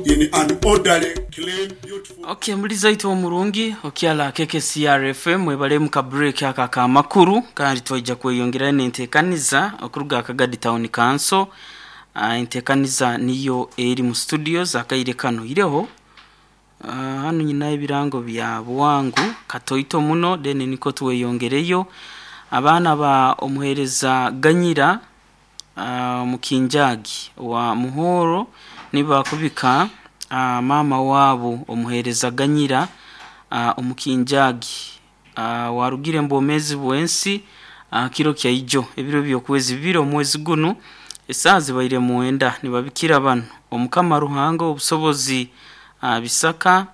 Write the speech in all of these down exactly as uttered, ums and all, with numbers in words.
in an orderly, clean, beautiful. Okay, muliza itu omurungi okyala K K C R F M, mwebale mu break aka kamakuru, kandi twaija kweyongera n'enteekaniza okuruga Kagadi Town Council. uh, enteekaniza niyo eri mu studios akaire kano ireho. uh, hanu nyina ebirango bya bwangu katoito muno, then niko tweyongereyo. Abaana ba omuheereza Ganyira uh, Mukinjagi wa Muhoro nibakubika uh, mama waabo omuheereza Ganyira uh, Omukinjagi uh, warugire mbwomezi bwensi uh, kiro kya ijo, ebiro byokwezi bibiri omwezi guno, esaaha zibaire mwenda. Nibabikira bano: Omukama Ruhanga obusobozi uh, bisaka,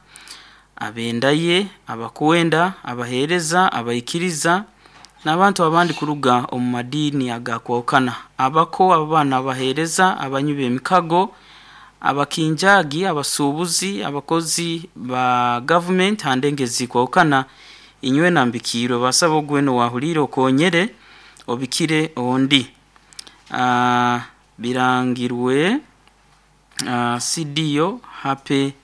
abendaye, abakwenda, abaheereza, abaikiriza n'abantu abandi kuruga omu madiini agakwahukana, abako, abaana, abaheereza, abanywi b'emikago, abakinjagi, abasuubuzi, abakozi ba gavumenti handenge zikwahukana. Inywe nambikirwe, basaba ogweno wahulire okonyere obikire ondi. uh, birangirwe uh, C D O Hape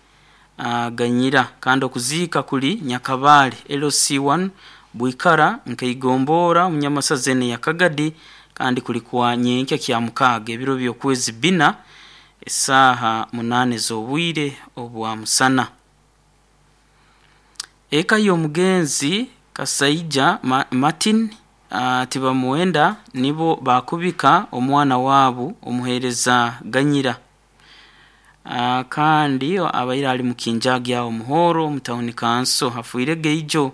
uh, Ganyira, kandi okuziika kuli Nyakabale L C one Bwikara nkaigombora Munyamasazene ya Kagadi, kandi kuli kwa nyenkya kya mukaaga, ebiro byokwezi bina, esaaha munane z'obwire obwa musana. Eka y'omugenzi Kasaija Ma Martin uh, Tibamuwenda nibo bakubika omwana waabo omuheereza Ganyira, uh, kandi abaire ali mukinjagi awo Muhoro mu town council, afiire geijo.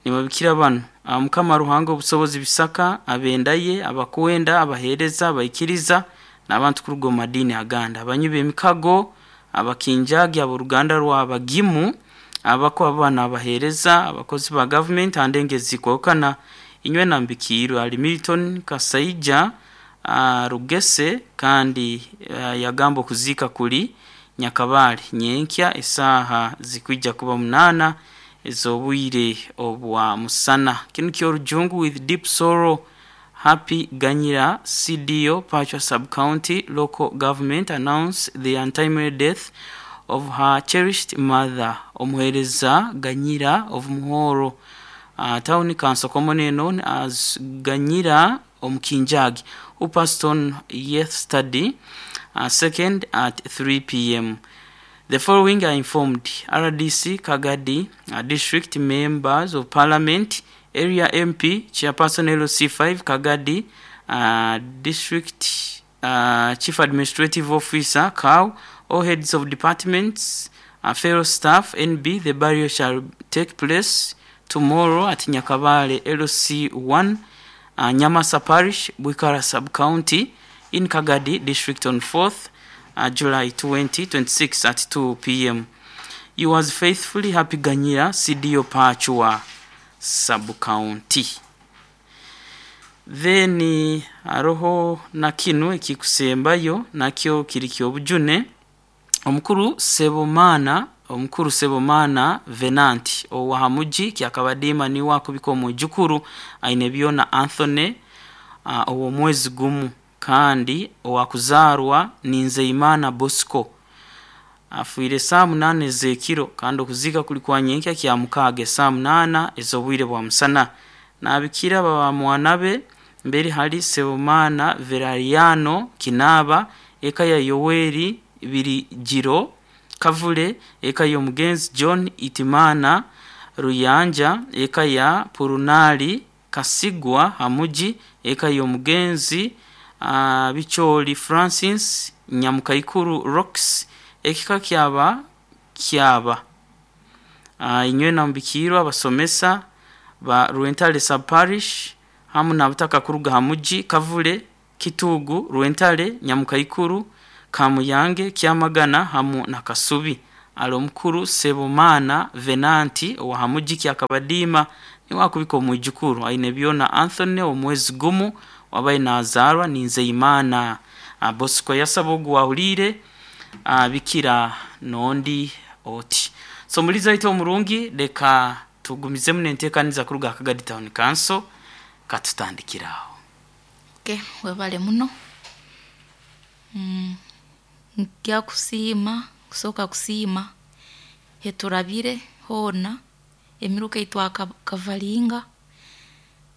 Nibabikira bano: Mukama Ruhanga obusobozi bisaka, abendaye, abakwenda, abaheereza, abaikiriza n'abantu kuruga omu madiini agandi, abanywi b'emikago, abakinjagi, ab'oruganda rwa Bagimu, abako, abaana, abaheereza, abakozi ba gavumenti handenge zikwahukana. Inywe nambikirwe. Ali Milton Kasaija uh, Rugese, kandi uh, yagamba okuziika kuli Nyakabale nyenkya, esaaha zikwija kuba munana ez'obwire obwa musana. Kinu kyorujungu: with deep sorrow, Happy Ganyira, C D O, Pachwa Sub-County Local Government, announce the untimely death of her cherished mother, Omuhereza Ganyira of Muhoro uh, Town Council, commonly known as Ganyira Omukinjagi, who passed on yesterday, uh, second at three p m. The following are informed: R D C Kagadi uh, District, Members of Parliament, Area M P, Chairperson L C five Kagadi uh, District, uh, Chief Administrative Officer, C A O, all heads of departments, uh, fellow staff. N B. The burial shall take place tomorrow at Nyakabale L C one, uh, Nyamasa Parish, Bwikara Sub-County, in Kagadi District on fourth uh, July twenty twenty-six at two p m. Yours faithfully, Happy Ganyira, C D O, Pachua Sub-County. Then haroho na kinu ekikusembayo, nakyo kiri kyobujune. Omukuru Sebomana, omukuru Sebomana Venanti owahamuji Kyakabadima niwe akubika omwijukuru aine byona Anthony uh, ow'omwezi gumu, kandi owakuzarwa Ninzeimana Bosco, afiire saa munana ez'ekiro, kandi okuziika kuli kwa nyenkya kya mukaaga, esaa munana ez'obwire bwa musana. Nabikira baba mwana be mberi hali Sebomana Verariano Kinaba, eka ya Yoweri Birigiro Kavule, eka y'omugenzi John Itimana Ruyanja, eka ya Purunali Kasigwa Hamuji, eka y'omugenzi uh, Bicholi Francis Nyamukaikuru Rocks, ekika kyaba kyaba. uh, inywe nambikirwa abasomesa ba Rwentale Sub Parish hamu nabutaka kuruga Hamuji, Kavule, Kitugu, Rwentale, Nyamukaikuru, Kamuyange, Kyamagana hamu na Kasubi. Ali omukuru Sebomana Venanti owa Hamuji Kyakabadima niwe akubika omwijukuru aine byona Anthony omwezi gumu, wabaye nazarwa Ninzeimana uh, Bosco. Yasaba ogu wahulire uh, bikira nondi oti. So muliza ito omurungi, leka tugumizemu nenteekaniza kuruga Kagadi Town Council, katutandikiraho. Okay, webale muno. mm, nkyakusiima. Kusooka kusiima heturabire hoona emiruka eitwakavaringa,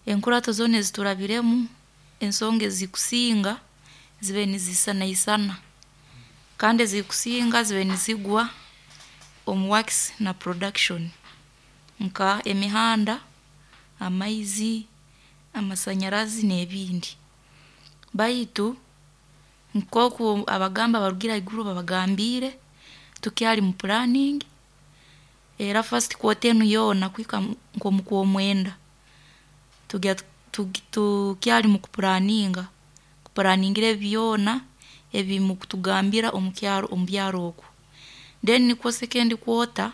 enkurato zoona eziturabiremu, ensonga ezikusinga zibe nizisanaisana kandi ezikusinga zibe nizigwa omu works na production nka emihanda, amaizi, amasanyarazi n'ebindi. Baitu nk'oku abagambi abarugire haiguru babagambiire, tukyali mu planning, era first quarter enu yoona kuhika nk'omu kw'omwenda, tugya tukyali mukupulaninga, kupulaningira ebi byona ebi mukutugambira omukyaro omubyaro oku. Then nikwo second quarter,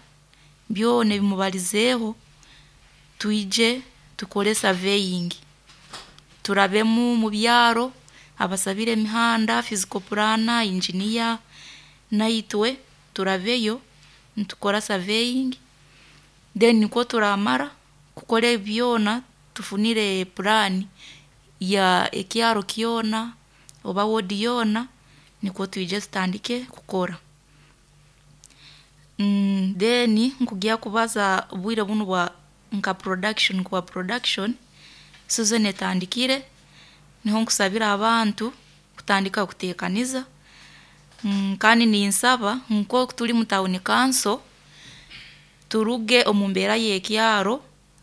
byona ebi mubalizeeho, twije tukore surveying, turabemu mubyaro, abasabire emihanda, physical planner, engineer, naitwe turabeyo nitukora surveying then nikwo turaamara kukora ebi byona tufunire plan ya ekyaro kyona oba ward yoona nikwo twije tutandike kukora. Then nkugya kubaza obwire bunu bwa nka production kuba production, season etandikire, niho nkusabira abantu kutandika kuteekaniza kandi ninsaba nk'oku turi mu town council, turuge omu mbeera y'ekyaro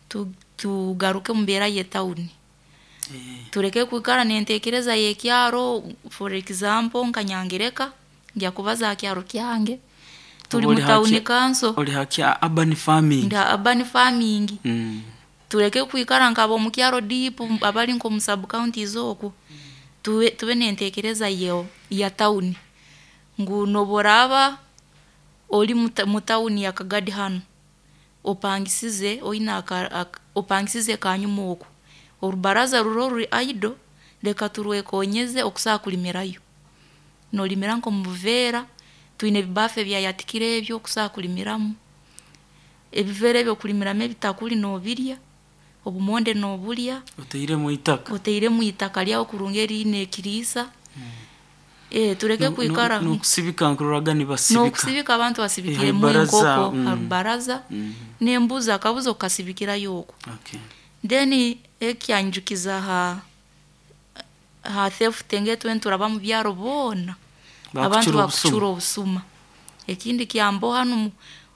tu- tugaruke omu mbeera y'etawuni. Tuleke kwikara n'enteekereza y'ekyaro, for example nka Nyangereka, ngya kubaza ha kyaro kyange, turi mu town council. Oli hakya urban farming. Nda urban farming. Mm. Tuleke kwikara nk'ab'omu kyaro deep abali nk'omu sub counties oku, tube tube n'enteekereza yo ya tawuni ngu n'obu oraaba ori mu tawuni ya Kagadi hanu, opangisize oine aka opangisize kanyuma oku, orubaraza ruroho ruri idle, leka turwekonyeze okusobora kulimirayo. Noolimira nk'omu buveera, twine ebibaafu ebyayatikire ebi okusobora kulimiramu, ebiveera ebi okulimiramu ebitakuri noobirya, obumonde noobulya, Otairemu itaka. otairemu itaka ryawe kurungi eriine ekiriisa, tuleke kwikara N'okusibika nkuroraga nibasibika. N'okusibika abantu basibikiremu Harubaraza, enkoko mm. ha rubaraza Mm. n'embuzi akabuzi okasibikirayo oku. Okay. Then ekyanjukiza ha ha theft ngetwe nituraba mu byaro boona, abantu Bakucura bakucura obusuma. obusuma. Ekindi kyamboha hanu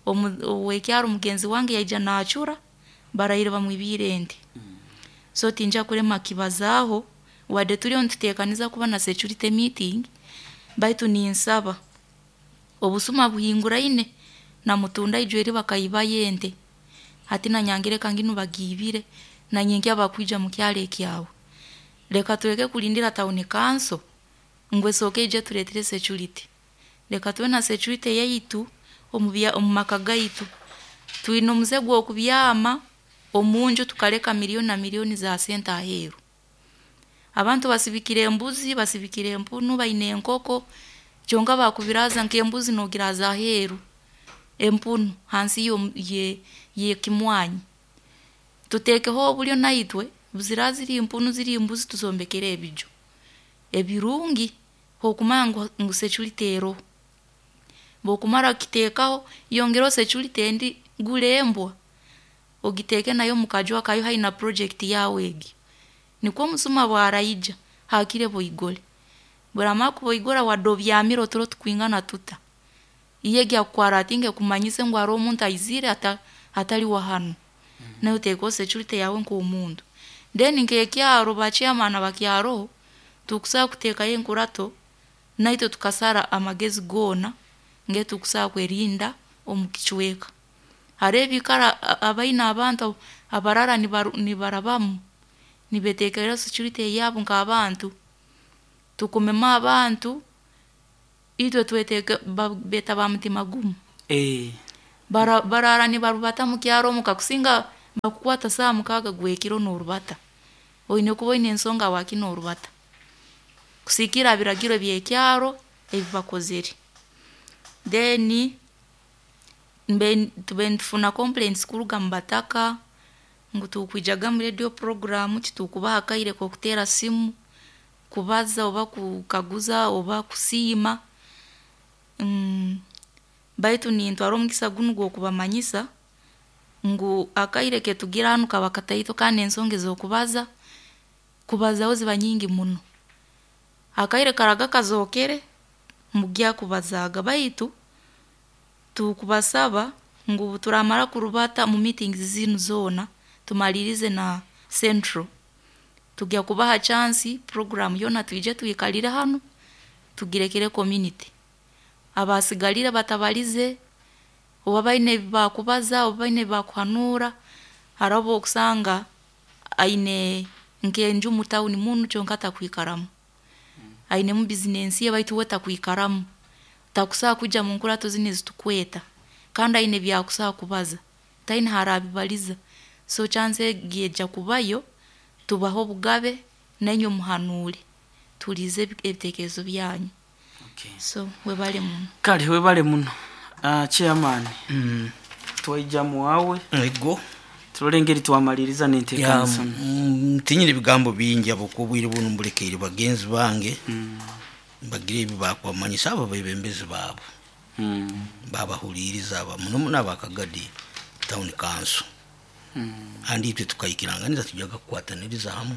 omu ow'ekyaro mugenzi wange yaija naacura, baraire bamwibiire ente. So tinjya kulema kukibazaaho, wadde turiyo nituteekaniza kuba na security meeting, baitu ninsaba, obusuma buhinguraine, na Mutunda ijo eri bakaibayo ente, hati na Nyangereka nginu bagiibire, na nyenkya bakwija mukyaro ekyawe. Leka tuleke kulindira town council ngu esooke ije etureetere security. Leka tube na security yaitu omu bya omu maka gaitu. Twine omuze gw'okubyama omunju tukaleka millioni na millioni za sente aheeru. Abantu basibikire embuzi, basibikire empunu, baine enkoko, kyonka baakubiraaza nk'embuzi noogiraaza aheeru, empunu hansi y'omu ye y'ekimwanyi. Tuteekeho obulyo naitwe, obu ziraaba ziri mpunu ziri mbuzi tuzombekere ebiju ebirungi okumanya ngu ngu security eroho. Obu okumara kukiteekaho, yongeraho security endi, gura embwa, ogiteeke nayo mukaju akayo haihi na project yaawe egi. Nikwo omusuma obu araija, haakire boigore. Obu oramara kuboigora wadde obyamire oturo tukwingana tuta, iyo egi akualertinga ekumanyise ngu haroho omuntu aizire ata atali wa hanu, naiwe oteekeho security yaawe nk'omuntu. Then nk'ekyaro ba chairman abakyaroho, tukusobora kuteekayo enkurato, naitwe tukasara amagezi goona ngetukusobora kwerinda omu kicweka. Haroho ebiikaro abaine abantu abaraara nibaru nibarabamu, nibeteekeraho security eyaabo nk'abantu, tukomemu abantu, itwe tweteeke babeeta ba mutima gumu. Eh. Bara baraara nibarubata mukyaro omu kakusinga bakukwata saaha mukaaga gw'ekiro noorubata, oine kuba oine ensonga habwaki noorubata, kusigiikirra ha biragiro by'ekyaro ebi bakozire. Then mbe tube nitufuna complaints kuruga mubataka ngu tukwijaga mu radio program titukubaha akaire k'okuteera simu, kubaza oba kukaguza oba kusiima. Baitu nintwara omugisa gunu gw'okubamanyisa ngu akaire ketugira hanu kaba kataito, kandi ensonga ez'okubaza kubazaho ziba nyingi muno. Akaire karaga kazookere mugya kubazaaga, baitu tukubasaba ngu turamara kurubata mu meetings zinu zoona, tumalirize na central, tugya kubaha chance program yoona twije twikalire hanu tugirekere community. Abasigalire batabalize, oba baine ebi bakubaza, oba baine ebi bakuhanuura. Hariho obwokusanga aine nk'enju mu tawuni munu kyonka takwikaramu, ainemu bizinensi ye baitu we takwikaramu, takusobola kwija mu nkurato zinu ezitukweta, kandi aine ebyakusobola kubaza, taine harabibaliza. So chance egi ejya kubayo, tubahe obugabe nainywe muhanuure, tuhuliirize ebitekerezo byanyu. Okay. So webale muno. Kale webale muno. Uh, chairman, Mm. twaija muwawe Ego. turole engeri twamaliriza Ya, n'enteekaniza. mm, tinyine ebigambo bingi habwokuba obwire bunu mbulekeire bagenzi bange Mm. bagire ebi bakwamanyisa abo bebembezi baabo Mm. babahuliriza aba muno muno abakagadi town council. Mm. Kandi itwe tukaikiranganiza tujaga kukwataniriza hamu,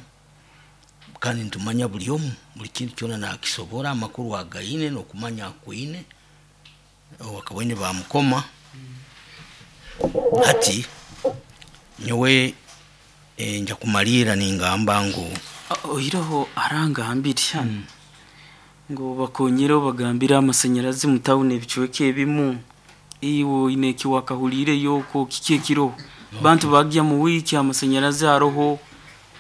kandi nitumanya buli omu buli kintu kyona nakisobora, amakuru againe n'okumanya akwine wakabaine bamukoma. Hati nyowe eh, nja kumalira ningamba ngu Ah, oiroho arangambire hano ngu bakonyere bagambire amasanyarazi mu tawuni ebicweka ebimu, iwe oine eki wakahuliire yoko kiki ekiroho bantu bagya mu wiiki amasanyarazi aroho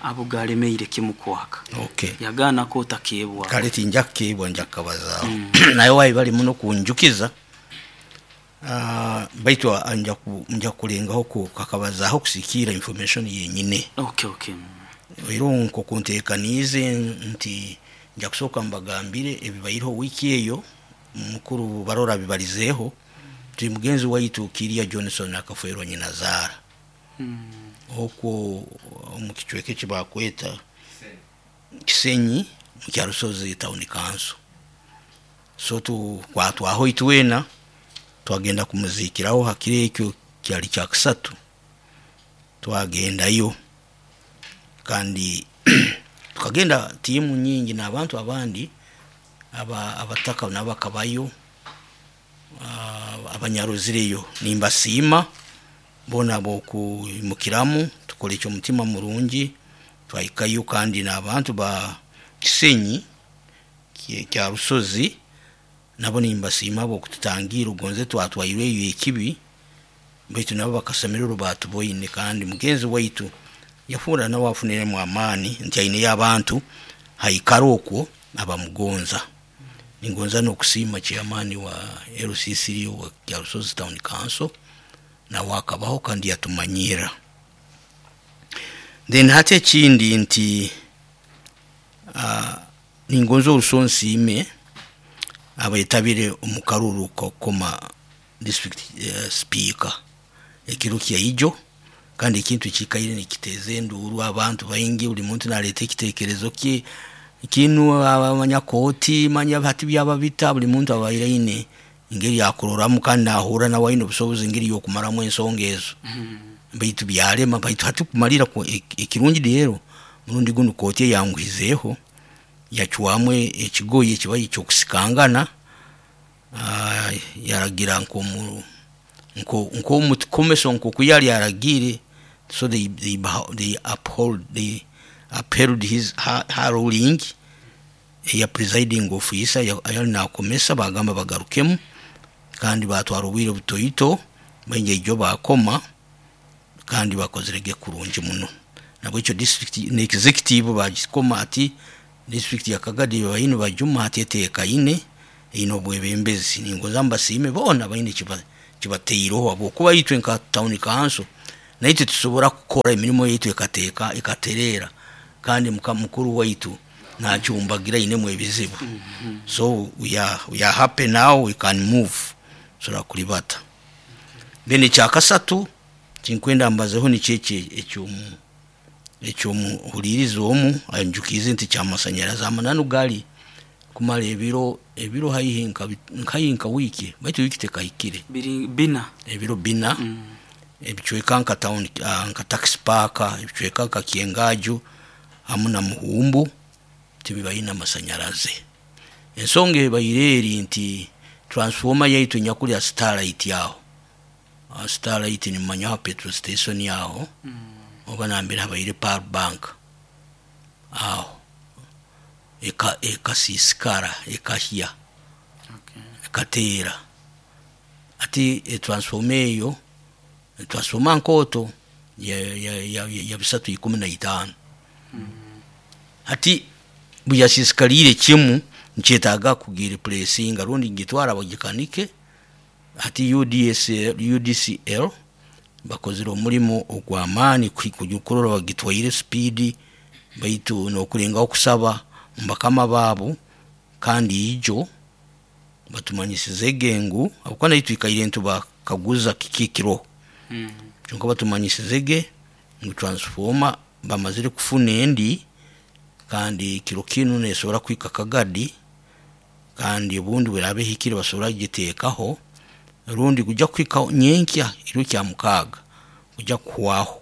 abo galemeire kimu kwaka. Okay. Yagaana ko otakeebwa. Kale tinja kukeebwa, nja kukabazaaho naye wayi bali muno kunjukiza. Ah, baitu ah, nja ku- nja kulengaho ku- kakabazaaho kusikiira information yenyine. Okay, okay. Era nkokunteekaniize nti nja kusooka mbagambire ebibaireho wiiki eyo, mukuru barora bibalizeeho. Ti mugenzi waitu Kiria Johnson akafwerwa nyina zaara Mm. okwo omu kicweka eki bakweta Kisenyi mu Kyarusozi town council. So tukwatwaho itwena twagenda kumuzikiraho hakiro ekyo kyali kya kusatu, twagendayo kandi tukagenda tiimu nyingi n'abantu abandi aba abataka nabo bakabayo, ah, abanyaruzireyo nimbasiima bona bokwimukiramu tukora ekyo omutima murungi. Twahikayo kandi n'abantu ba Kisenyi kye- kya Rusozi nabo nimbasiima bokututangira ogonze twatwaireyo ekibi, baitu nabo bakasemererwa batuboine. Kandi mugenzi waitu yafuura nawe afuniremu amaani nti aineyo abantu haikara okwo abamugonza. Ningonza n'okusiima chairman wa L C C wa Kyarusozi town council, nawe akabaho kandi yatumanyira. Then hati ekindi nti uh, ningonza oruso nsiime abetabire omu karuru kokoma district uh, speaker ekiro kyaijo, kandi ekintu kikaire nikiteeza enduuru abantu baingi, buli muntu naleeta ekiteekerezo kye kinu abanyakooti manya hati byaba bita, buli muntu abaire aine engeri yakuroramu kandi nahura nawe aine obusobozi engeri y'okumaramu ensonga ezo. Baitu byarema, baitu hati kumalira ku- ek- ekirungi rero murundi gunu kooti eyanguhizeeho yacwamu ekigoye ekibaye ekyokusikangana, ah, yaragira nkomu nko nkomutukomeso nkoku yali aragiire. So they, they, they uphold, they upheld his her, her ruling eya presiding officer yali nakomesa, bagamba bagarukemu kandi batwara obwire butoito baingi ijo bakoma kandi bakozerege kurungi muno. Nabwekyo district ne executive bagikoma ati district ya Kagadi bayinu bajuma ati eteekaine ino obwebembezi. Ningoza mbasiime boona bayine kiba kibateireho habwokuba itwe nka town council naitwe tusobora kukora emirimo yaitu ekateeka ekatereera, kandi muka mukuru waitu nacyumbagira inemu ebizibu. So we are, we are happy now, we can move sora kulibata. Then ekyakasatu kinkwenda mbazeho nikyeki ekyomu ekyomuhuliriza omu anjukize nti kyamasanyarazi amananu gali Kumara ebiro ebiro haihi nka haihi nka wiiki, baitu wiiki tekahikire. Biri bina. Ebiro bina. Mm. Ebicweka nka town, uh, nka taxi park, ebicweka nka Kyengaju hamu na Muhumbu tibibaina amasanyarazi. Ensonga ebaire eri nti transformer yaitu nyakulya Starlight yaho. Uh, Starlight ni manyaho petrol station yaho. Mm. Oba nambere habaire power bank aho eka ekasisikara ekahya. Okay. Ekatera ati e transformer eyo transformer nkoto ya ya ya, ya bisatu ikumi na itano. Mm. Ati buyasisikalire kimu nkyetaaga kugira replacinga rundi ngitwara bagikanike. Ati U D S L, U D C L bakozire omulimo ogw'amaani kukurora bagitwaire speed, baitu n'okulengaho kusaba mbakama baabo, kandi ijo batumanyisize ngu habwokuba naitwe twikaire ntubakaguza kiki kiro. Mm. Kyonka batumanyisize ngu transformer bamazire kufuna endi, kandi kiro kinu nesobora kwika Kagadi, kandi obundi bwerabe hikire basobora kugiteekaho, rundi kujya kwika nyenkya iro kya mukaaga kujya kuhwaho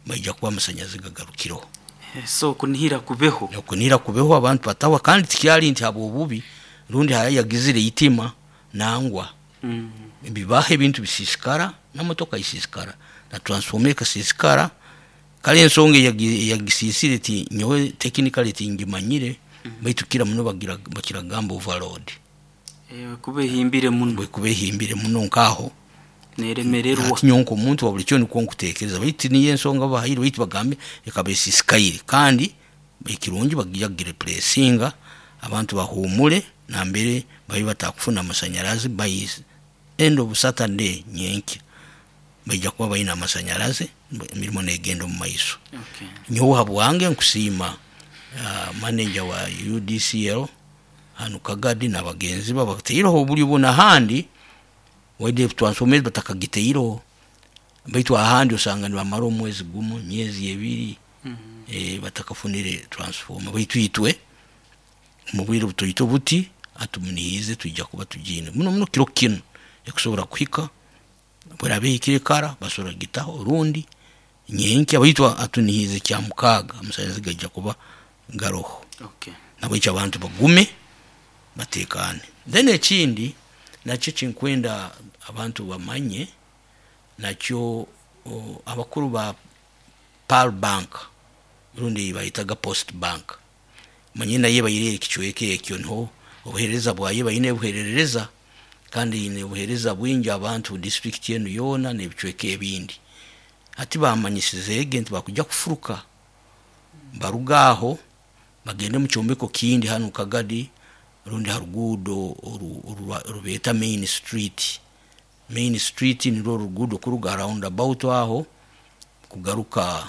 baija kuba amasanyazi gagarukiro. So kunihira kubeho, kunihira kubeho abantu batawa, kandi tikyali nti habo obubi rundi haya yagizire itima nangwa. Mm. Bibaho ebintu bisisikara n'amotoka isisikara na transformer ikasisikara. Kale ensonga yagisisire ti nyowe technically tingimanyire. Mm. Baitu kira muno bagira bakiragamba overload. Eh, kubehimbire muno, kubehimbire muno nkaho neremererwa nyonko omuntu wa buli kyo nikwo nkutekereza, baitu niyo ensonga bahayire, baitu bagambe ekabesisikaire, kandi ekirungi bagira replacinga abantu bahumule nambere babi batakufuna amasanyarazi by end of Saturday nyenkya baija kuba balina amasanyarazi, emirimo negenda omu maiso. Okay. Nyowe habwange nkusiima uh, manager wa U D C L hanu Kagadi n'abagenzi ba bateireho obulyo bwona ahandi waide transformers batakagiteireho, baitu ahandi osanga nibamara omwezi gumu myezi ebiri. Mm. E, batakafunire transformer, baitu itwe mu bwire butoito buti atumunihize tuija kuba tugine muno muno kiro kinu ekusobora kuhika bwerabe hikire kara basobora gitaho rundi nyenkya, baitu atunihize kya mukaaga amasanyarazi gaija kuba garoho. Okay. Nabwekyo abantu bagume batekane. Then ekindi nakyo kinkwenda abantu bamanye nakyo, abakuru ba Pearl Bank rundi bayitaga Post Bank, manye naye bayire ekicweka ekyo niho obuhereza bwaye bayine buherereza, kandi ine obuhereza bwingi abantu district yenu yona n'ebicweka ebindi. Ati bamanyisize nti bakujja kufuruka barugaho bagende mu kyombeko kindi hano Kagadi rundi harugudo rubeta Main Street. Main Street nirwo rugudo kuruga roundabout aho kugaruka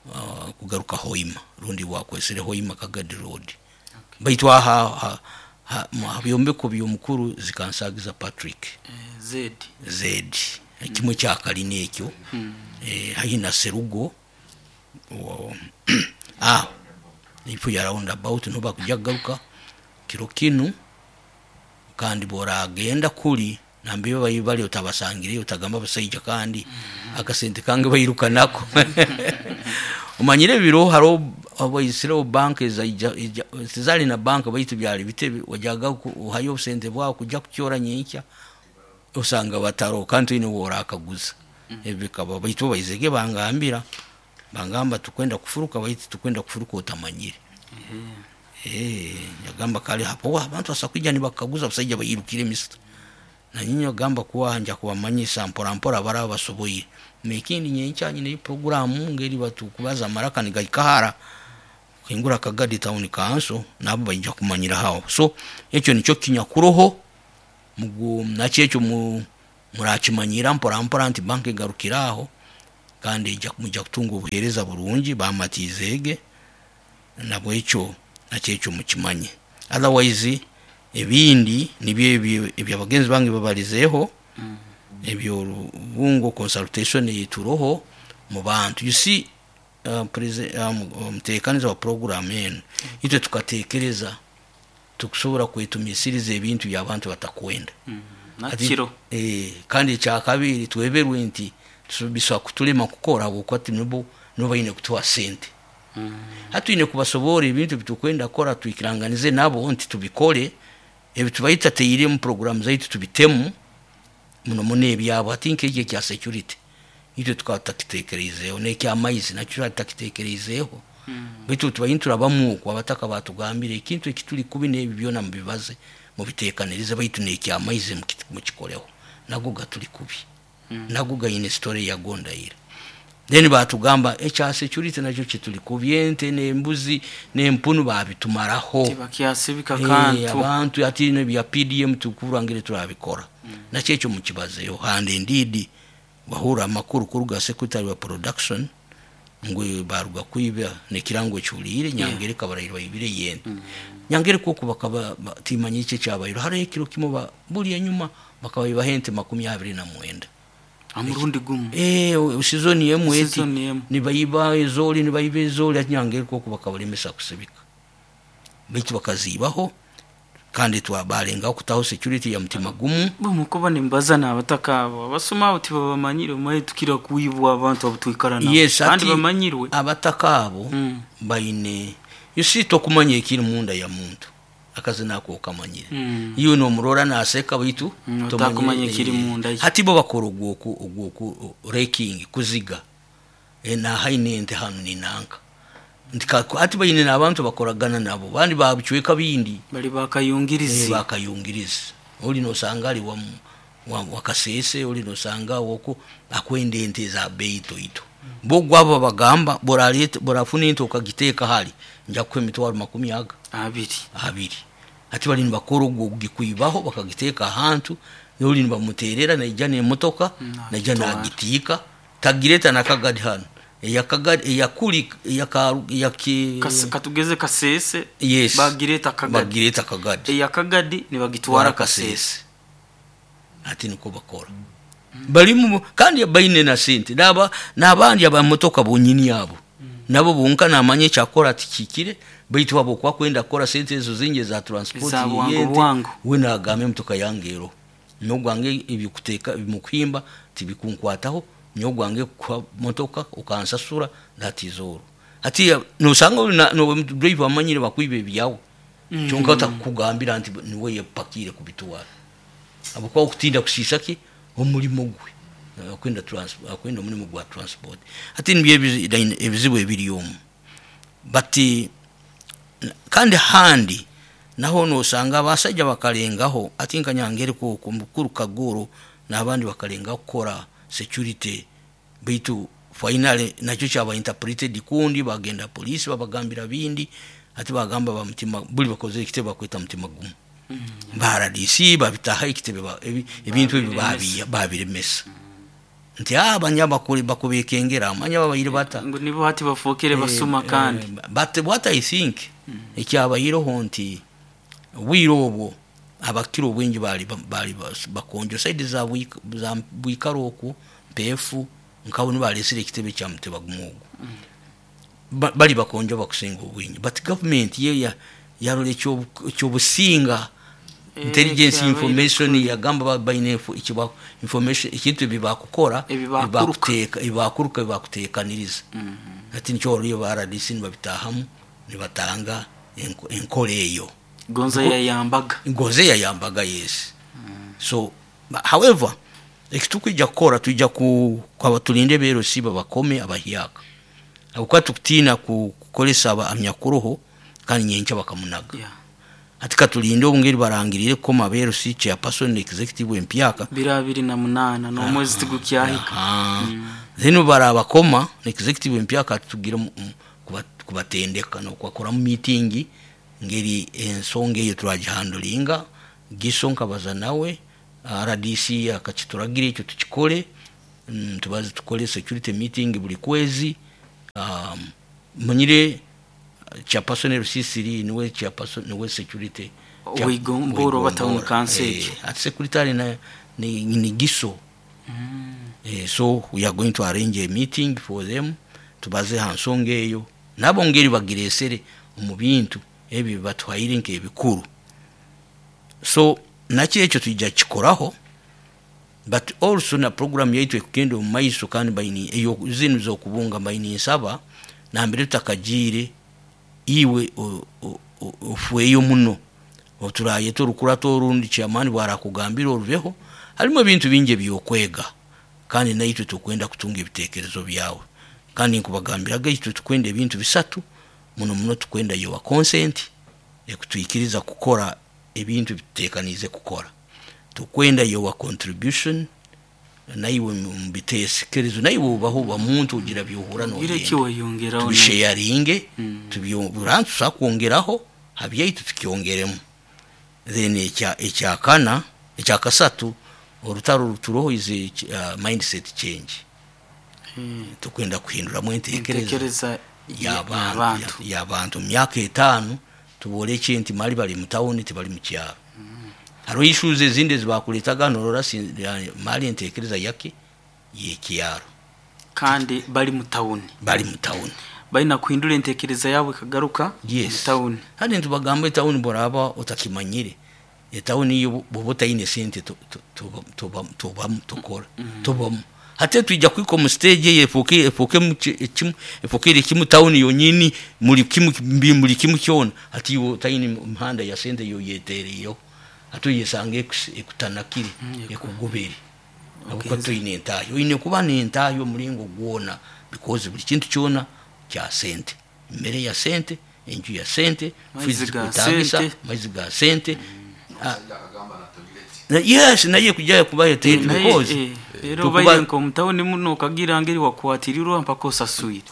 uh, kugaruka Hoima rundi wakwesere Hoima Kagadi Road. Okay. Baitu aha byombeko byomukuru zikansagiza Patrick eh, Z Z kimwe kya kalina ekyo. Mm. Eh, haihi na Serugo ah ifu ya roundabout no bakujya garuka kiro kinu, kandi boragenda kuri nambiyo bayibali otabasangire otagamba basayija kandi. Mm -hmm. Akasente kange bayiruka nako. Omanyire biro haro abayisiro bank ezaija zali na bank baitu byali bitebe wajaga uhayo sente bwa kujya kucyora nyenkya osanga bataro kandi ine worakaguza. Mm. Ebikaba baitu bayizege bangambira bangamba tukwenda kufuruka, baitu tukwenda kufuruka otamanyire. Mm. Eh, yagamba kale hapo abantu basakwijja nibakaguza basajja bayirukire misita. Na nyinyo gamba kuwa nja kubamanyisa mpora mpora baraba basoboye. Mekindi nyenkya nyine programu ngeri batu kubaza maraka nigaikahara kingura Kagadi Town Council nabo baija kumanyira hawo. So ekyo nikyo kinyakuroho mugu nakyo ekyo mu murakimanyira mpora mpora nti banke garukiraho, kandi ija mujja kutunga obuhereza burungi bamatizege nabwo ekyo nakyo ekyo mukimanye. Otherwise ebindi nibyo ebyabagenzi bange babalizeho. Mm. Ebyo Rubungo consultation yituroho mu bantu. You see, uh, um, muteekaniza wa program eno itwe tukatekereza Tukusobora kwetumisiriza ebintu by'abantu batakwenda. Nakiro. Eh, kandi ekyakabiri tweberwe nti biswa kutulema kukora habwokuba nibo nibo baine kutuha sente. Hatwine kubasobora ebintu bitukwenda kukora, twikiranganize nabo nti tubikole ebi tubaita teire mu program zaitu tubitemu muno muno ebyabo. Ati nk'ekyo ekya security itwe tukaba tutakitekereizeeho, n'ekyamaizi nakyo tutakitekereizeeho, baitu tubaine turabamu okwo abataka batugambire ekintu ekituli kubi n'ebi byona mubibaze mubiteekanirize, baitu n'ekyamaizi mukikoleho, nago gatuli kubi, nago gaine story yago ndahira. Then batugamba ekya security nakyo kituli kubi, ente n'embuzi n'empunu babitumaraho, tibakyasibika kantu. Abantu ati n'ebya P D M tukurangire turabikora, nakyo ekyo mukibazeeho. And indeed wahura amakuru kuruga secretary wa production ngwe baruga kwiba nekirango cyulire Nyangere kabarayirwa ibire yende Nyangere koko bakaba timanye icye cyabayiro hari ekiro kimo buli enyuma bakabayiba hente makumi abiri na mwenda amurundi gumu eh season yemu eti nibayiba ezoli nibayiba ezoli Nyangere koko bakabalemesa kusibika bitu bakazibaho. Kandi twabalenga kutaho security ya mutima gumu bumukuba nimbaza nabataka abo abasoma abo tibabamanyire maye tukira kuibwa abantu abutwikara nabo. Yes, kandi bamanyirwe abataka abo mm. Baine you see tokumanya ekiri munda ya muntu akazi nako okamanyire mm. Iyo no murora naseka bitu mm, tokumanya ekiri munda hati bo bakora ogwoku ogwoku raking kuziga e na haine ente hanu ninanka ndika ati bayine nabantu bakoragana nabo bandi babucweka bindi bali bakayungirizi e, bakayungirizi oli no sangali wa, wa wakasese oli no sanga woko akwende ente za beito ito mm. Bo gwabo bagamba boralete borafuna ente okagiteka hali nja kwe mitwaro makumi aga abiri abiri ati bali nibakora ogwo gikuibaho bakagiteka ahantu oli nibamuterera naija ne motoka naija nagitika tagireta nakagadi hano eyakagadi eyakuli eyaka yaki katugeze Kasese. Yes, bagireta kagadi bagireta kagadi eyakagadi nibagitwara Kasese ati niko bakora mm. Balimu kandi baine na sente naba nabandi abamotoka bonyini yabo mm. Nabo bonka namanye cyakora ati kikire baitu abo kwa kwenda kora sente ezo zinge za transport yente we nagame motoka yangero no gwange ibikuteka bimukwimba tibikunkwataho nyogwange kwa motoka ukansasura ndatizoro ati no sanga no driver amanyire bakwibe byawo mm. Kyonka takugambira nti niwe yepakire kubitwara abo kwa kutinda kusisa ki omulimo gwe akwenda transport akwenda omulimo gwa transport ati nibye ebizibu ebiri omu bati kandi handi naho no sanga abasajja bakalengaho ati nkanyangere ko mukuru Kagoro nabandi bakalenga kukora security bitu finally nakyo cyaba interpreted kundi bagenda police babagambira bindi ati bagamba ba mutima buli bakoze ekitebe bakweta mutima gumu mm. Ba R D C babitaha ekitebe ebintu ebi babi babiremesa nti abanya bakuri bakubekengera amanya babayire bata ngo nibo hati bafokere basuma kandi eh, but what I think mm. Ekyabayiroho nti bwiro obwo abakiro obwingi bali bali bakonjo side za za bwikaroku mpefu nkabo nibalesire ekitebe kya muteba gumugo mm. ba, bali bakonjo bakusinga obwingi but government ye ya yarole ekyo businga e, intelligence information yagamba baine ikiba information ikintu bibakukora bibakuteka ibakuruka bibakutekaniriza mm -hmm. Ati nicyo ryo ba R D C nibabitahamu nibatanga enkole eyo Gonza yayambaga Gonza yayambaga yes mm. So however ekitukwijja kukora tujja ku kwaba tulinde bero siba bakome abahyaka abuka tukutina kukolesa aba amyakuruho kandi nyencha bakamunaga yeah. Ati katulinde obungeri barangirire koma bero si chairperson executive empyaka birabiri na munana no mwezi tigukyahika mm. Zino barabakoma executive empyaka tugira kubatendeka no kwakora mu meeting ngeri ensonga eyo turagihandulinga giso nkabaza nawe R D C akakituragira ekyo tukikole mm, tubaze tukole security meeting buli kwezi um, munyire chairperson R C C niwe chairperson niwe security Wigomboro batamu council eh, at secretary na ni, ni giso mm. Eh, so we are going to arrange a meeting for them tubaze hansonga eyo nabo ngeri bagiresere mu bintu ebi batwaire nke ebikuru So nakyo ekyo twija kikoraho, but also na program yaitu ekugenda omu maiso, kandi baini eyo zinu z'okubunga baini nsaba nambere tutakagiire iwe ofweyo muno oturayeta orukurato orundi chairman bwarakugambira orubeho. Harimu ebintu bingi ebyokwega, kandi naitwe tukwenda kutunga ebitekerezo byawe, kandi nkubagambiraga itwe tukwenda ebintu bisatu muno muno. Tukwenda your consent ekutwikiriza kukora ebintu bitutekaniize kukora, tukwenda your contribution naiwe mubitekerezo, naiwe ubaho uba muntu ugira byohura nogenda tubisharinge, tubyobura tusa kwongeraho habyaitu tukyongeremu. Then ekya ekyakana ekyakasatu orutaro ruturoho is uh, mindset change. Hmm. Tukwenda kuhinduramu entekereza y'abantu y'abantu myaka etaano tuboleke nti mali bali mu tawuni tibali mu kyaro. Hariho issues ezindi ezibakuletaga norora mali entekereza yake yekyaro, kandi bali mu tawuni bali mu tawuni balina kuhindura entekereza yabo ikagaruka. Yes. Mu tawuni. Hadi ntubagamba etawuni boraba otakimanyire etawuni yo boba otaine sente tubamu tukora tubamu hate twija kwiko mu stage yefuke efuke kimu efukire kimu tawuni yonyini muri kimu muri kimu kyona ati yo tayini mihanda ya sente yo yetereyo atuyesange ekutanakire ekugobere abuko tuyine entayo ine kuba ni entayo mulingo gwona, because buli kintu kyona kya sente, mmere ya sente, enju ya sente, sente, maizi ga sente. Yes, naye kujya kuba tete because rero baye nko mutawuni muno kagira ngeri wakwatirirwa mpaka osasuire.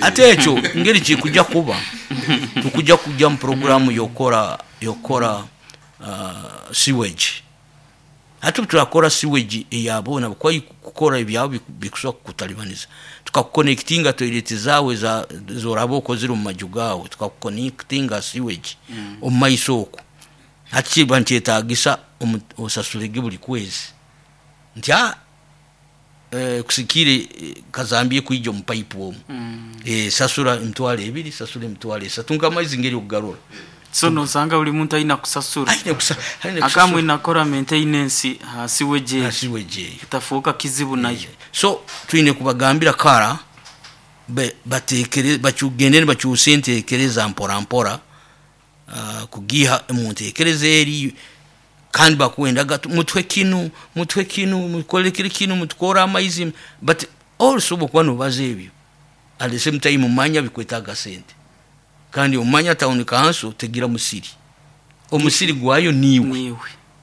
Ate ekyo ngeri kikujja kuba tukujja kujja mu programu yokora yokora uh, sewage. Hatu turakora sewage eyabona kwa kukora ebyabo bikusoka kutalibaniza, tukakuconnectinga toilet zawe za zorabo kozira mu maju gawe, tukakuconnectinga sewage mm. omu maiso oko hati nkyetagisa osasulege buli kwezi nti a eh, kusikire kazambie kuija mu pipe omu mm. eh, sasura emitwalo ebiri, sasura emitwalo esatu nk'amaizi ngeri okugarura. So nosanga buli muntu aina kusasura aina akamwe nakora maintenance ha sewage ha sewage itafuka kizibu nayo. Yeah. So twine kubagambira kara batekere bacyugendere bacyuse entekereza mpora mpora uh, kugiha omuntekereza eri, kandi bakwendaga mutwe kinu mutwe kinu mukole kiri kinu mutukora amaizi, but also bokuba nobaza ebyo at the same time mumanya bikwetaga sente, kandi umanya town council tegira musiri omusiri gwayo niwe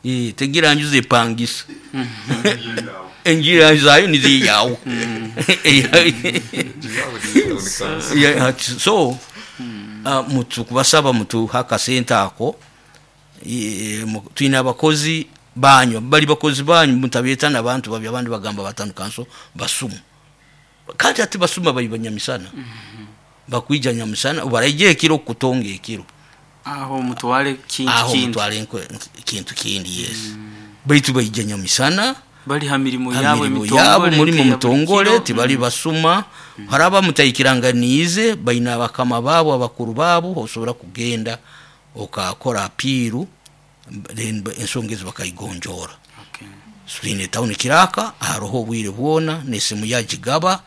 eh tegira njuze pangisa enjira zayo nizi yawo. So uh, mutu kubasaba mutu haka sente ako twina abakozi banyu bali bakozi banyu mutabeta n'abantu babi abandi bagamba batanu kanso basumu, kandi ati basuma bayibanyamisana bakwija nyamusana baraije ekiro kutonga ekiro aho mutwale kintu aho kindi mutwale kintu kindi. Yes. Mm. Baitu baija nyamisana bali ha mirimo yabo emitongole muri mutongole tibali basuma. Mm. Haraba mutayikiranganize baina abakama babo abakuru babo osobora kugenda okakora apiru ensonga ezo bakayigonjora. Okay. Twine town kiraka haroho obwire bwona nesimu yagigaba,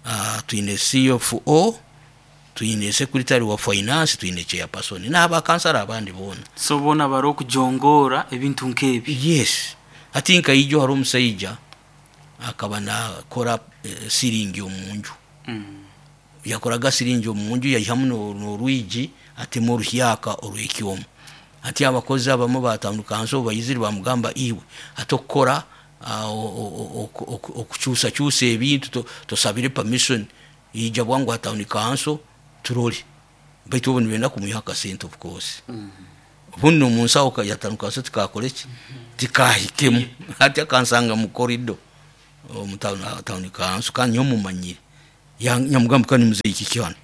uh, twine C F O, twine secretary wa finance, twine chairperson n'abakansara abandi bona. So bona baro kujongora ebintu nkebi. Yes. Ati nka ijo hari omusajja akaba nakora eh, siringi omunju. Mm. Yakoraga siringi omunju yayihamu n'orwigi atema oruhyaka orw'ekyomo. Ati abakozi abamu batandukanso bayiziri bamugamba iwe atokora okukyusa kyusa ebintu tosabire permission ija bwangu atawuni kanso turole, baitu obu nibenda kumuha akasente of course. Obundi omunsawo yatanukanso tikakore ki tikahikemu ati akansanga mu corridor omu town council kandi nyomumanyire nyamugamba kandi muzeyi kiki hano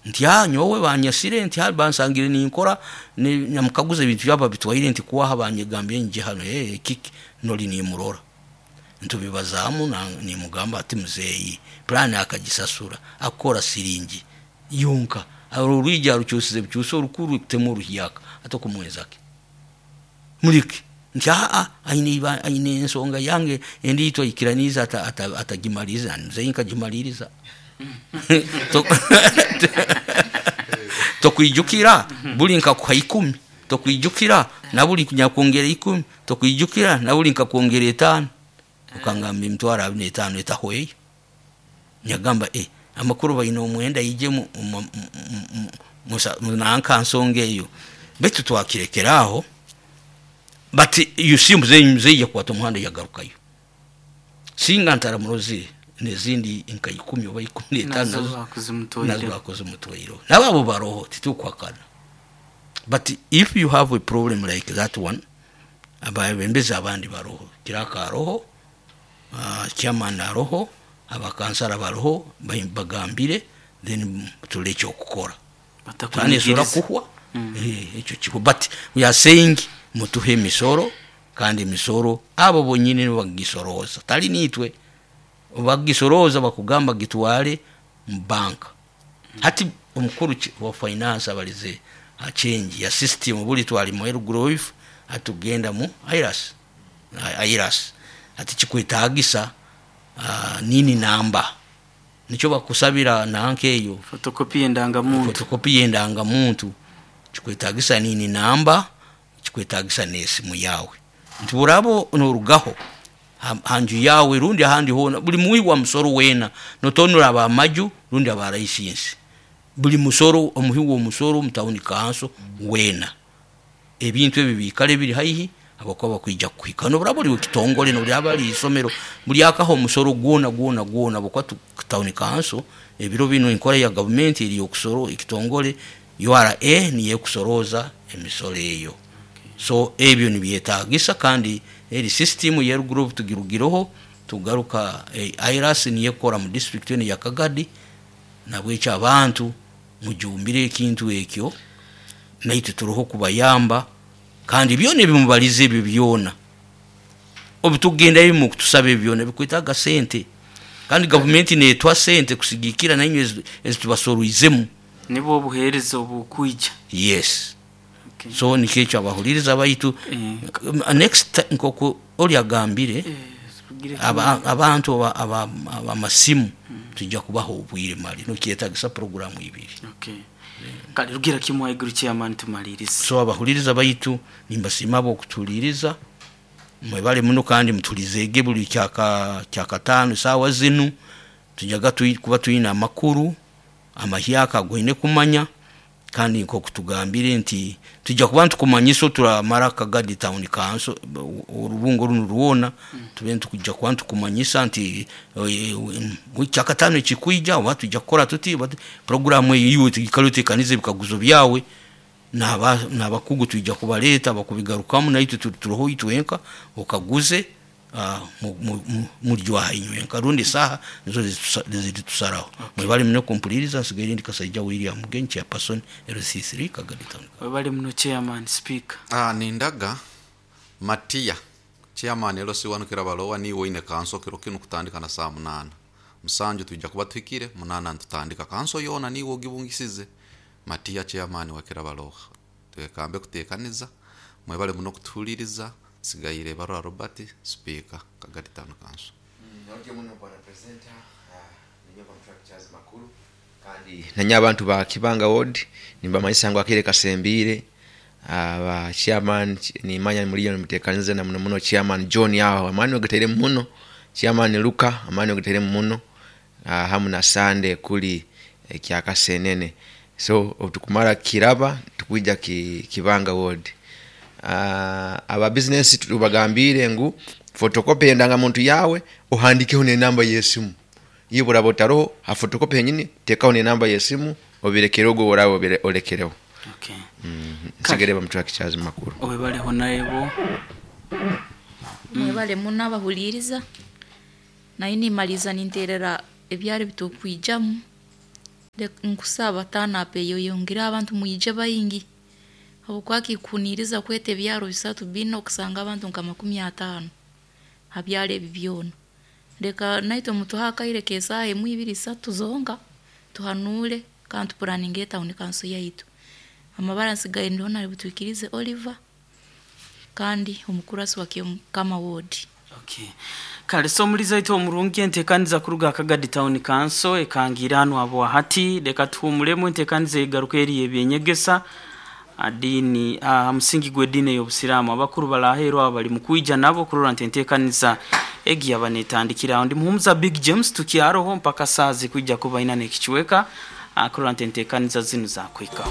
nti ah nyowe banyasire nti hali bansangire ninkora nyamukaguza ebintu byaba bitwaire nti kuwaha banyegambye nje hano eh kiki noli nimurora ntubibazamu na nimugamba ati muzeyi plan akagisasura akora siringi yonka aro ruija rucyusize byuso rukuru kutemo ruhiyaka atokumwezake Muleke nti aa aine aine ensonga yange endiitwa ikiraniza atagimaliza nze nkagimaliriza. Tokwijukira buli nkakuha ikumi, tokwijukira na buli nyakwongera ikumi, tokwijukira na buli nkakwongera etaano, okangamba emitwaro abiri n'etaano etahweyo. Nyagamba eh amakuru baine omwenda ije mu nanka nsonga eyo, baitu twakirekeraho. But you see muzeyi muzeyi yakwata omuhanda yagarukayo, singa ntaramurozire nezindi nka ikumi oba ikumi n'etaano nazo bakoze mutwairo nabo baroho titukwakana. But if you have a problem like that one, ababembezi abandi baroho, kiraka roho, uh, chairman aroho, abakansara baroho, bagambire then tuleke okukora batakunyigiriza kuhwa ekyo kiko. But we are saying mutuhe emisoro, kandi emisoro abo bonyine bagisoroza, tali nitwe bagisoroza, bakugamba gitwale mu banka. Hati omukuru wa finance abalize a change ya system, buli twali mu growth atugenda mu IRAS IRAS ati kikwetagisa uh, nini namba nicho bakusabira nanke eyo photocopy yendangamuntu, photocopy yendangamuntu kikwetagisa nini namba, kikwetagisa n'esimu yawe nti burabo norugaho hanju yawe rundi ahandi hona buli muwi wa musoro wena notonura abamaju rundi aba license buli musoro omuhi wo musoro mutawuni kanso wena ebintu ebi bikale biri haihi abakuba bakwija kuhika no burabo uri kitongole no byaba ari isomero buli akaho musoro gwona gwona gwona bokwa tawuni kanso ebiro bino inkora ya government iri okusoro ekitongole U R A niye kusoroza emisoro eyo. So ebyo nibyetagisa kandi eri system ya group tugirugiroho tugaruka eh, I R S niye kora mu district ya Kagadi nabwecha abantu mujumbire ekintu ekyo naitwe turoho kubayamba kandi byone bimubalize ebyo byona obutugenda bimu kutusaba byona bikwitaga sente kandi government netwa sente kusigikira nanywe ezitubasoruizemu nibo obuhereza obukwija. Yes. Okay. So nikecho abahuliriza baitu eh. Next nkoko oli agambire eh, aba, abantu aba amasimu hmm. Tujja kubaho obwire mali no kyetagisa program ibiri. Okay. Yeah. Kali rugira kimwe iguru chairman tumalirize. So abahuliriza baitu nimbasima bo kutuliriza mwebale muno kandi mutulizege buli kyaka kyakatano sawa zinu tujaga kuba tuyina amakuru amahyaka goine kumanya kandi nko kutugambire nti tujja kuba ntukumanyiso turamara Kagadi town council orubungo runo ruwona mm. Tube ntukujja kuba ntukumanyisa nti kyakatano kikuija oba tujja kukora tuti programu eyo tukalute bikaguzo byawe naba nabakugu tujja kubaleta bakubigarukamu naitwe turoho itwenka okaguze muryo inywenka rundi saha nizo zitusaraho. Mwebale muno kumpuliriza nsigaye ndi Kasaija William Mugenyi chairperson L C three Kagadi town. Mwebale muno chairman speaker. Ah nindaga Matia chairman L C one Kirabalowa ni woine kanso kiro kinu kutandika na saa munana musanju tujja kuba twikire munana ntutandika kanso yona niwo gibungisize Matia chairman wa Kirabalowa twekambe kutekaniza mwebale muno kutuliriza sigayire barwa Robert speaker Kagadi town council. Nyoke muno bwana presenter ninyo contractors makuru kandi nanya abantu ba Kibanga ward nimba mayisango akire kasembire aba chairman ni manya muliyo mutekanize na muno muno chairman John yaho amani ogetere muno chairman Luka amani ogetere muno hamu na Sunday kuli eh, kyakasenene so otukumara kiraba tukuija ki, Kibanga ward. Uh, aba business tubagambire ngu photocopy endanga muntu yawe ohandikeho ne namba yesimu iyo burabo taro ha photocopy yenyini tekaho ne namba yesimu obirekere ogo burawo olekereho. Okay. Mm, nsigere bamutwakicyazi makuru obebaleho naebo mwebale muno abahuliriza naye nimaliza ninterera ebyari bitukwijamu nkusaba tana pe yoyongera abantu muyije bayingi abukwaki kuniriza kwete byaro bisatu bino okusanga abantu nka makumi atano habyale ebi byona leka naito mutuhaka ile kesa emu ibiri satu zonga tuhanule kandi planning eta town council yaitu amabara nsigaye ndona butwikirize Oliver Kandi omukurasi wa Kyomukama ward. Okay. Kale, so omuliza waitu omurungi, enteekaniza kuruga Kagadi Town Council ekangira hanu abo hati leka tuhumulemu, enteekaniza egaruka eri ebyenyegesa adini aha musingi gw'eddiini ey'obusiraamu. Abakuru baraheerwa abo bali mukwija nabo kurora nti enteekaniza egi yaba netandikira aho. Ndi Muhumuza Big James, tukyaroho mpaka saa zikwija kuba ina n'ekicweka, ah, kurora nti enteekaniza zinu zakwikaho.